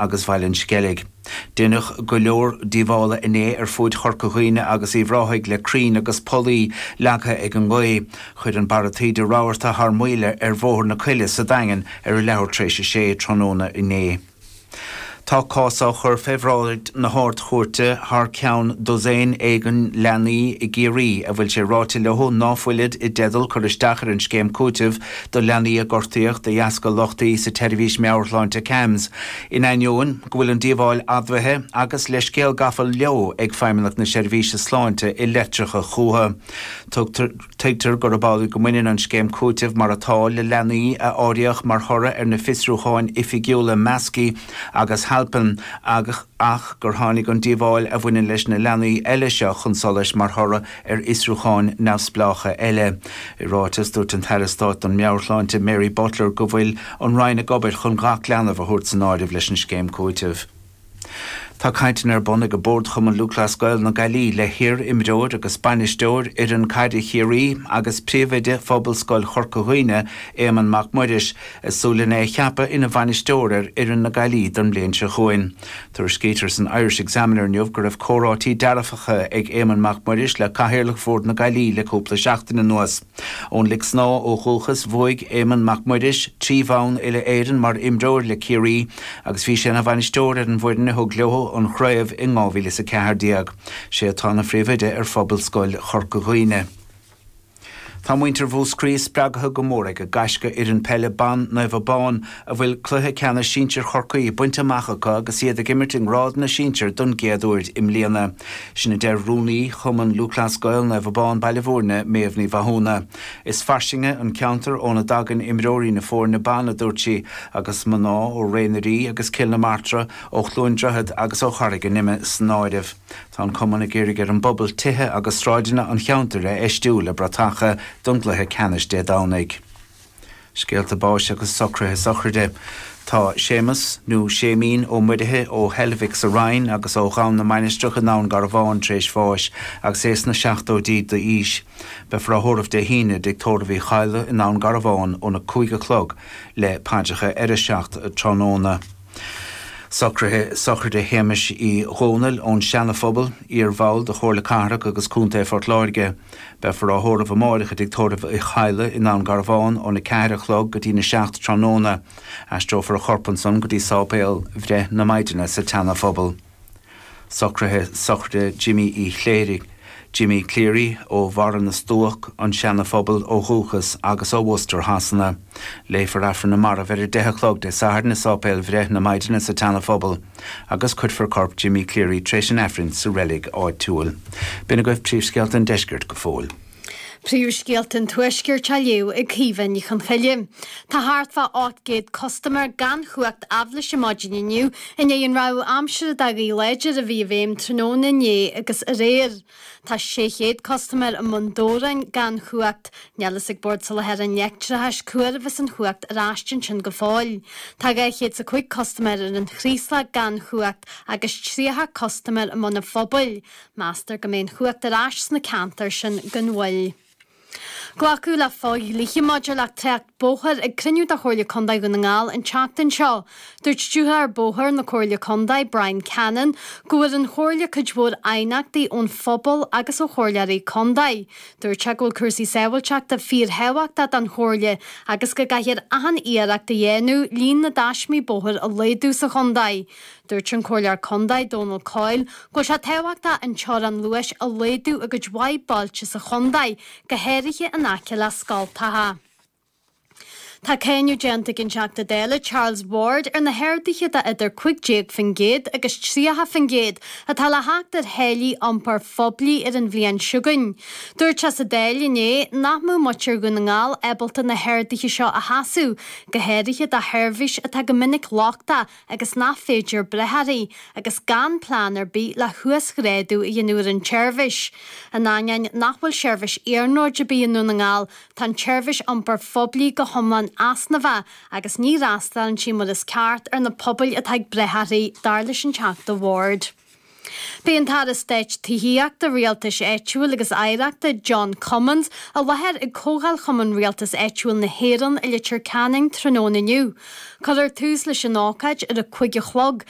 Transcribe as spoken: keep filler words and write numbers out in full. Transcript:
agus Bhaile an Sceilg. Deineadh go leor díobhála inné ar fud Chorca Dhuibhne agus Uíbh Ráthaigh le crainn agus pollaí leagtha ag an ngaoth. Chuir an barra taoide rabharta thar maoil ar Bhóthar na Coille sa Daingean ar a leathuair tar éis a sé tráthnóna inné. Tá cás á chur fé bhráid na hArd-Chúirte thar ceann dosaen éigin leanaí i gCiarraí a bhfuil sé ráite leo ná fuilid i dteideal cur isteach ar an scéim cúitimh do leanaí a gortaíodh de dheasca lochtaí sa tseirbhís meabhairshláinte CAMHS. In ainneoin go bhfuil an díobháil admhaithe agus leithscéal gafa leo ag Feidhmeannacht na Seirbhíse Sláinte i leitreacha chucu. Tuigtear gurb amhlaidh go mbaineann an scéim cúitimh mar atá le leanaí a áiríodh mar thoradh ar na fiosrúcháin oifigiúla Maskey agus Halpin ach ach gur tháinig an díobháil a bhaineann leis na leanaí eile seo chun solais mar thoradh ar fhiosrúcháin neamhspleácha eile. I ráiteas dúirt an tAire Stáit don Meabhairshláinte Mary Butler go bhfuil an Roinn ag obair chun gach leanbh a thabhairt san áireamh leis an scéim cúitimh. Tá cainteanna ar bun ag Bord Chumann Lúthchleas Gael na Gaillimhe le hiar-imreoir agus bainisteoir fhoireann caide Chiarraí agus príomhoide Phobalscoil Chorca Dhuibhne Éamonn Mac Muiris ag súil lena é a cheapadh ina bhainisteoir ar fhoireann na Gaillimhe don bhliain seo chugainn. Tuairiscítear san Irish Examiner inniu go raibh comhráití dearfacha ag Éamonn Mac Muiris le cathaoirleach Bhord na Gaillimhe le cúpla seachtain anuas. Ón Lic Snámha ó dhúchas bhuaigh Éamonn Mac Muiris trí bhonn uile Éireann mar imreoir le Ciarraí agus bhí sé ina bhainisteoir ar an bhfoireann a thug leo an chraobh in dhá mhíle is a ceathair déag. Sé atá ina phríomhoide ar Phobalscoil Chorca Dhuibhne. Tá muintir Mhúscraí spreagtha go mór ag a gaisce fhoireann peile ban Naomh Abán a bhfuil cluiche ceannais sinsir Chorcaí bainte amach acu agus iad ag imirt i ngrád na sinsear don gcéad uair i mbliana. Sin a deir rúnaí Chumann Lúthchleas Gael Naomh Abán Baile Bhúirne Méabh Ní Mhathúna. Is fairsinge an ceantar óna dtagann imreoirí na foirne ban a dúirt sí agus mná ó Ré na Rí agus Cill na Martra ó Chluain Droichead agus ó Charraig an Ime san áireamh. Tá an cumann ag iarraidh ar an bpobal tithe agus sráideanna an cheantair a fheistiú le bratacha don gcluiche ceannais Dé Domhnaigh. Scéalta báis agus socruithe sochraide. Tá Séamus nó Séimín Ó Muirithe ó Heilbhic sa Rinn agus ó Dhún na Mainistreach i nDún Garbhán tar éis bháis agus é sna seachtóidí d'aois. Beifear á thórramh Dé hAoine i dTigh Tórraimh Uí Chadhla i nDún Garbhán óna cúig a chlog le paidreacha ar a seacht tráthnóna. Socruithe sochraide Shéamais Uí Dhónaill ón Seana-Phobal, iarbhall de Chomhairle Cathrach agus Contae Phort Láirge. Beifear á thórramh amárach i dTigh Tórraimh Uí Chadhla i nDún Garbhán óna ceathair a chlog go dtí na seacht tráthnóna. Aistreofar a chorp ansan go dtí Sáipéal Bhreith na Maighdine sa tSeana-Phobal. Socruithe sochraide Jimmy Uí Chléirigh. Jimmy Cleary ó Bharra na Stuac an Seana-Phobal ó dhúchas agus ó Worcester Shasana. Léifear Aifreann na Marbh ar a deich a chlog Dé Sathairn i Sáipéal Bhreith na Maighdine sa tSeana-Phobal, agus cuirfear corp Jimmy Cleary tar éis an Aifrinn sa reilig áitiúil. B'in agaibh príomhscéalta an deiscirt go fóill. Príomhscéalta an Tuaiscirt á léamh ag Caoimhe Ní Chonchoille. Tá thart fá ocht gcéad custaiméir gan chumhacht aibhléise maidin inniu i ndiaidh an rabhadh aimsire de ghaoth láidir a bhí i bhfeidhm tráthnóna inné agus aréir. Tá sé chéad custaiméir i mBun Dobhráin gan chumhacht. Níl a fhios ag Bord Soláthair an Leictreachais cá huair a bheas an chumhacht ar ais ansin go fóill. Tá dhá chéad is a cúig custaiméir ar an Chraoslach gan chumhacht agus tríocha custaiméir i mBun an Phobail. Meastar go mbeidh an chumhacht ar ais sna ceantair sin gan mhoill. Glacadh le fo-dhlíthe maidir le trácht bóthair ag cruinniú de Chomhairle Contae Dhún na nGall an tseachtain seo. Dúirt Stiúrthóir Bóthair na Comhairle Contae, Brian Cannon, go bhfuair an Chomhairle cuid mhór aighneachtaí ón phobal agus ó chomhairleoirí contae. Dúirt sé go bhfuil cúrsaí sábháilteachta fíorthábhachtach don Chomhairle agus go gcaithfear achan iarracht a dhéanamh líon na dtaismí bóthair a laghdú sa chontae. Dúirt an Comhairleoir Contae Donal Coyle go bhfuil sé tábhachtach an teorainn luais a laghdú i gcuid mhaith bailte sa chontae, go háirithe in aice le scoltacha. Tá cáineadh déanta ag an Teachta Dála Charles Ward ar na harduithe de idir cúig déag faoin gcéad agus tríocha faoin gcéad atá le theacht ar tháillí iompair phoiblí ar an bhliain seo chugainn. Dúirt sé sa Dáil inné nach mbeadh muintir Dhún na nGall ábalta na harduithe seo a sheasamh, go háirithe do sheirbhís atá go minic lochtach agus nach féidir breith uirthi, agus gan plean ar bith le huasghrádú a dhéanamh ar an tseirbhís. In ainneoin nach bhfuil seirbhís iarnróid ar bith i nDún na nGall, tá an tseirbhís iompair phoiblí go hiomlán easnamhach agus ní fhreastalaíonn sí mar is ceart ar na pobail atá ag brath uirthi, dar leis an Teachta Ward. Beidh an tAire Stáit Tithíochta, Rialtais Áitiúil agus Oidhreachta, John Cummins, i láthair ag Comhdháil Chumann Rialtais Áitiúil na hÉireann i Leitir Ceanainn tráthnóna inniu. Cuirfear tús leis an ócáid ar a cúig a chlog.